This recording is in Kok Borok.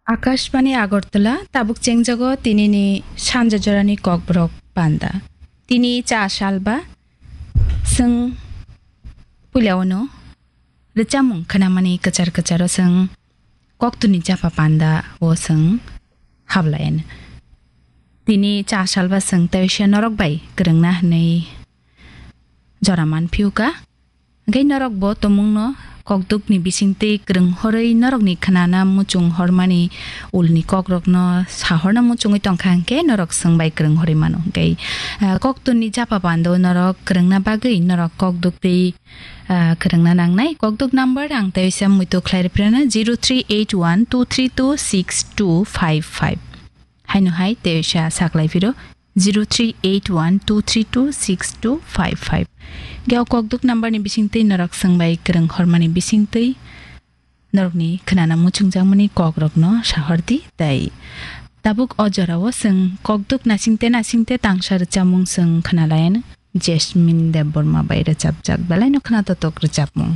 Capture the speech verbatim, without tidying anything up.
Akashbani Agartala, tabuk chengjago tinini sanja jorani kokborok panda. Tini cha salba, chwng puila ono rwchapmung khnamani kwchar kwcharo chwng koktwni japa panda o chwng hablayan. Tini cha salba chwng teisa norok bai kwrwngna hwnwi jora manphiyuka. Hwnkhe norok bo tongmungno kokdukni bisingtwi kwrwng horwi norokni khnana muchung hormani ulni kokrokno sahorna muchungwi tongkha hwnkhe norok chwng bai kwrwng horwi mano. Hwnkhe, ah, koktwni japa pando norok kwrwngna bagwi norok kokduktwi, ah, kwrwngna nangnai. Kokduk number ang teisa muitu khlai rwphirano zero three eight one two three two six two five five. Haino hai teisa saklai phiro zero three eight one two three two six two five five. Ge o kokduk number ni bisingtwi norok chwng bai kwrwng hormani bisingtwi norokni khnana muchungjakmani kokrokno sahordi tei tabuk o jorao chwng kokduk nasingte nasingte tangsa rwchapmung chwng khnalayan Jasmine Debbarma bai rwchapjak belaino khna totok rwchapmung.